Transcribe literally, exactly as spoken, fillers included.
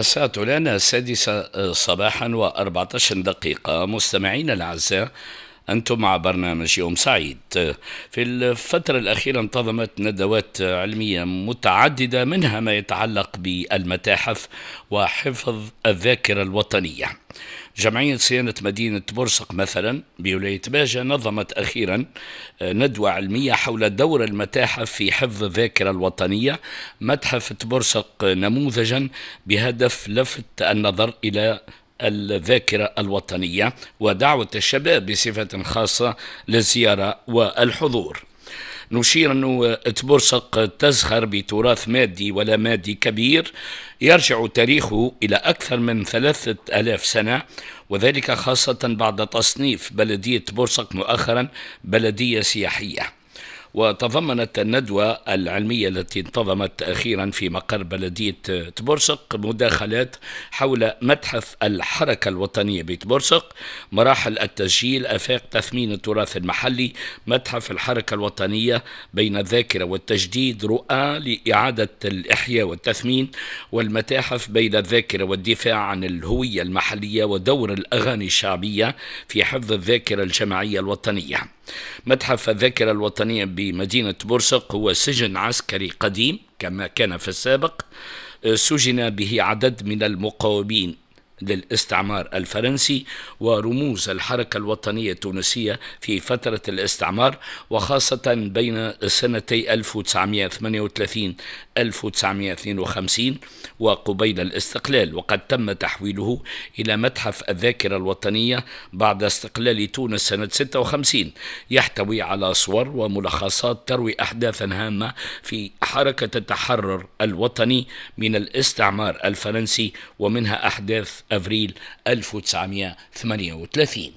الساعة الآن السادسة صباحا وأربعة عشر دقيقة. مستمعينا الأعزاء، أنتم مع برنامج يوم سعيد. في الفترة الأخيرة انتظمت ندوات علمية متعددة، منها ما يتعلق بالمتاحف وحفظ الذاكرة الوطنية. جمعية صيانة مدينة برسق مثلا بولاية باجة نظمت أخيرا ندوة علمية حول دور المتاحف في حفظ الذاكرة الوطنية. متحف تبرسق نموذجا بهدف لفت النظر إلى الذاكرة الوطنية ودعوة الشباب بصفة خاصة للزيارة والحضور. نشير أنه تبرسق تزخر بتراث مادي ولا مادي كبير يرجع تاريخه إلى أكثر من ثلاثة آلاف سنة، وذلك خاصة بعد تصنيف بلدية برسق مؤخرا بلدية سياحية. وتضمنت الندوة العلمية التي انتظمت أخيرا في مقر بلدية تبرسق مداخلات حول متحف الحركة الوطنية بتبرسق، مراحل التسجيل، آفاق تثمين التراث المحلي، متحف الحركة الوطنية بين الذاكرة والتجديد، رؤى لإعادة الإحياء والتثمين، والمتاحف بين الذاكرة والدفاع عن الهوية المحلية، ودور الأغاني الشعبية في حفظ الذاكرة الجماعية الوطنية. متحف الذاكرة الوطنية بمدينة برسق هو سجن عسكري قديم كما كان في السابق، سجن به عدد من المقاومين للاستعمار الفرنسي ورموز الحركة الوطنية التونسية في فترة الاستعمار، وخاصة بين سنتي ألف وتسعمائة وثمانية وثلاثين ألف وتسعمائة واثنين وخمسين وقبيل الاستقلال. وقد تم تحويله إلى متحف الذاكرة الوطنية بعد استقلال تونس سنة ستة وخمسين. يحتوي على صور وملخصات تروي أحداثا هامة في حركة التحرر الوطني من الاستعمار الفرنسي، ومنها أحداث أفريل ألف وتسعمائة وثمانية وثلاثين.